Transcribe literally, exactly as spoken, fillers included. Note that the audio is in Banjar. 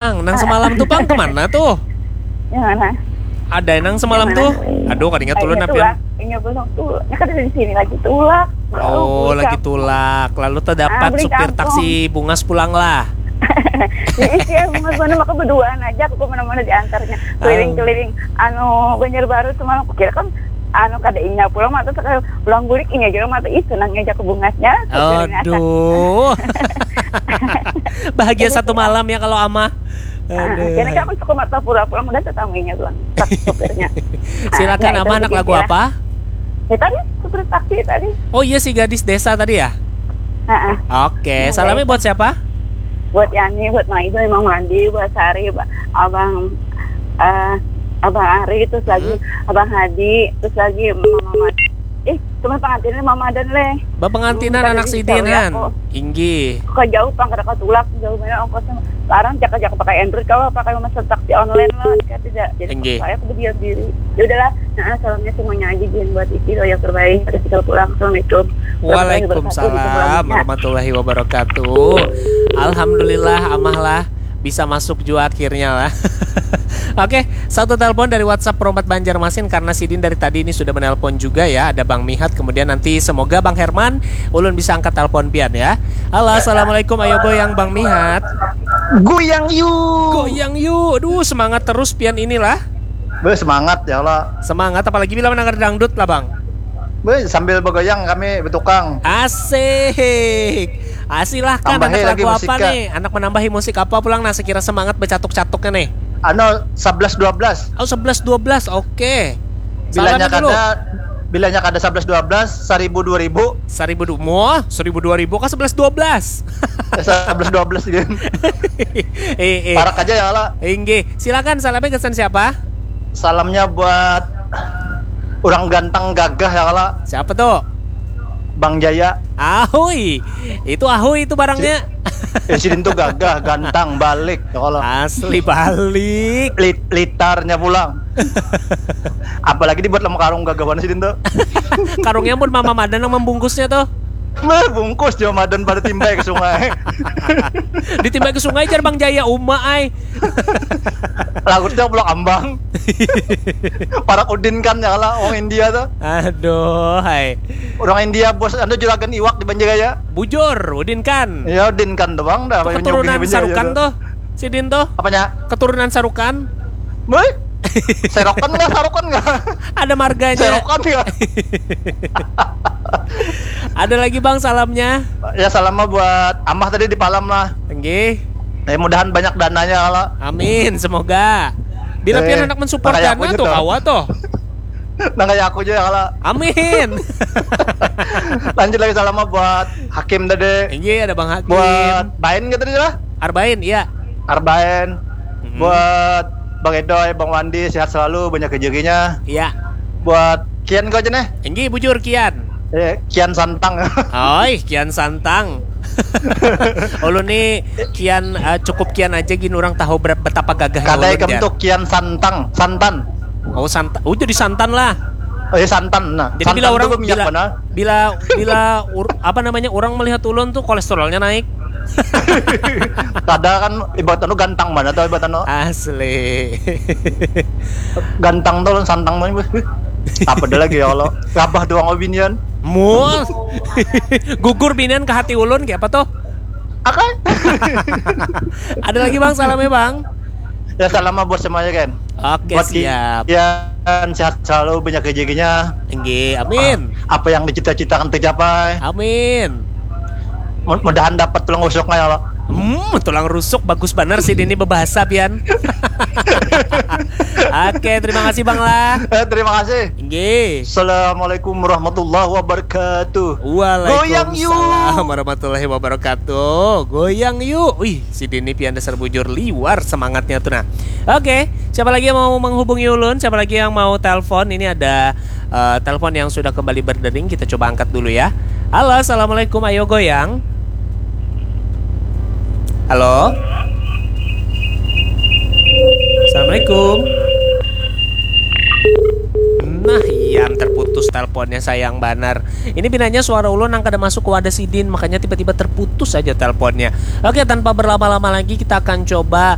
Nang, nang semalam tuh pang kemana tuh? Yang mana? Ada nang semalam tuh? Aduh, kada ingat ulun, Pian. Inya pulang tuh. Nya kada di sini lagi, tulak. Oh, lagi tulak. Lalu terdapat supir taksi bungas pulang lah. Jadi sih, bungas mana, maka berduaan aja aku kemana-mana diantarnya. Keliling-keliling, anu, Banjarbaru semalam. Kukira kan, anu, kada inya pulang, mata sekali pulang bulik, inya juga mata, ih, senangnya aja ke bungasnya. Aduh. Bahagia satu malam ya kalau Amah. Aduh. Kira aku suka mata pura pulang, udah tetamunya bilang, tak supirnya. Silakan, Amah, anak lagu apa? Ya tadi, supir taksi tadi. Oh iya, si gadis desa tadi ya? Heeh. Oke, salamnya buat siapa? Buat Yani, buat Maido, Emang Mandi, buat Sari, Abang, eh, Abang Ari, terus lagi Abang Hadi, terus lagi Mama Madi. Eh, cuma pengantinnya Mama dan Leh. Bapengantinan anak sidin, han. Inggih. Kok jauh pang, kada katulak, jauh banget ongkosnya. Sekarang jaka-jaka pakai Android, kalau pakai mesen taksi online lah, jika tidak. Jadi saya aku berdiam diri. Ya udahlah, nah, salamnya semuanya aja, Jin, buat Ici, yang terbaik. Terus kita pulang. Assalamualaikum. Waalaikumsalam warahmatullahi wabarakatuh. Alhamdulillah, Amah lah bisa masuk jua akhirnya lah. Oke, satu telepon dari WhatsApp Perompat Banjarmasin, karena sidin dari tadi ini sudah menelpon juga ya. Ada Bang Mihat, kemudian nanti semoga Bang Herman, ulun bisa angkat telepon pian ya. Halo, assalamualaikum, ayo goyang Bang Mihat. Goyang yu. Goyang yu. Aduh, semangat terus pian inilah. Be, semangat ya Allah. Semangat, apalagi bila mendengar dangdut lah, Bang. Be, sambil begoyang kami betukang. Asik. Ah, silahkan, anak lagu apa nih? Anak menambahi musik apa pulang, nah, sekira semangat becatuk-catuknya nih? Anu, sebelas dua belas. Oh, sebelas dua belas, oke. Bilanya kada, bilanya kada sebelas dua belas, seribu dua ribu. Seribu du-, muah, seribu dua ribu kah sebelas dua belas? Eh, sebelas dua belas gitu. Eh, eh. Parak aja ya, Allah. Inggih. Silakan, salamnya kesan siapa? Salamnya buat orang ganteng gagah ya, Allah. Siapa tuh? Bang Jaya. Ahui. Itu ahui itu barangnya. Eh, sidin tuh gagah, ganteng, balik ya, Allah. Asli balik. Lit-, litarnya pulang. Apalagi dibuat lama karung gagahan sidin tuh. Karungnya pun mama madan yang membungkusnya tuh. Meh, bungkus jua madan pada timbai ke sungai. Ditimbai ke sungai jar Bang Jaya, uma ai. Lagutnya pulang ambang. Parak Udin kan ya lah, orang India tuh. Aduh, hai. Orang India bos, anu, juragan iwak di Banjaraya. Bujur, Udin kan. Ya, Udin kan doang dah. Itu keturunan Sarukan tuh. Sidin tuh. Apanya? Keturunan Sarukan. Woi. Serokan nggak, Sarukan nggak? Ada marganya. Serokan nggak? Ada lagi, Bang, salamnya? Ya, salamnya buat Amah tadi di Palam lah. Enggih. Ya, mudahan banyak dananya kalau. Amin, semoga. Bila eh, pian hendak mensupport dana tuh, kawa tuh. Nang kayak aku aja ya kalau. Amin. Lanjut lagi, salamnya buat Hakim tadi. Iya, ada Bang Hakim. Buat Bain gitu tadi lah. Arbain, iya. Arbain. Hmm. Buat Bang Edoy, Bang Wandi, sehat selalu, banyak rezekinya. Iya. Buat Kian kau aja nih. Enggih, bujur Kian. Eh, Kian Santang. Oi, Kian Santang. Ulun nih Kian, eh, cukup Kian aja gin, orang tahu ber-, betapa gagahnya ulun. Kada ikam tuh Kian Santang, Santan. Oh, Santan. Oh, jadi Santan lah. Oh, iya, Santan. Nah, jadi bila orang, bila, bila, bila ur-, apa namanya, orang melihat ulun tuh kolesterolnya naik. Kada kan, ibarat anu gantang mana tuh, ibarat anu. Asli. Gantang tuh, Santang tuh. Apa ada lagi ya Allah? Rabah doang binian. Mus. Gugur binian ke hati ulun, kayak apa tuh? Akai. Ada lagi, Bang, salamnya, Bang. Ya, salam buat semuanya, kan. Oke, buat siap. Kian, sehat selalu, banyak rezekinya. Tinggi, amin. Ah, apa yang dicita-citakan tercapai. Amin. Mud-, mudahan dapat tulang rusuknya ya Allah. Hmm, tulang rusuk bagus benar sih ini berbahasa pian. Oke, terima kasih, Bang lah. Eh, terima kasih. Inggih. Assalamualaikum warahmatullahi wabarakatuh. Waalaikumsalam warahmatullahi wabarakatuh. Goyang yuk. Wih, si Dini pian dasar bujur liwar semangatnya tuh nah. Oke, siapa lagi yang mau menghubungi ulun? Siapa lagi yang mau telepon? Ini ada, eh, telepon yang sudah kembali berdering. Kita coba angkat dulu ya. Halo, assalamualaikum. Ayo goyang. Halo. Assalamualaikum. Nah, iya, terputus telepon. Teleponnya sayang banar. Ini pinanya suara ulun nang kada masuk ke wadah sidin, makanya tiba-tiba terputus aja teleponnya. Oke, tanpa berlama-lama lagi kita akan coba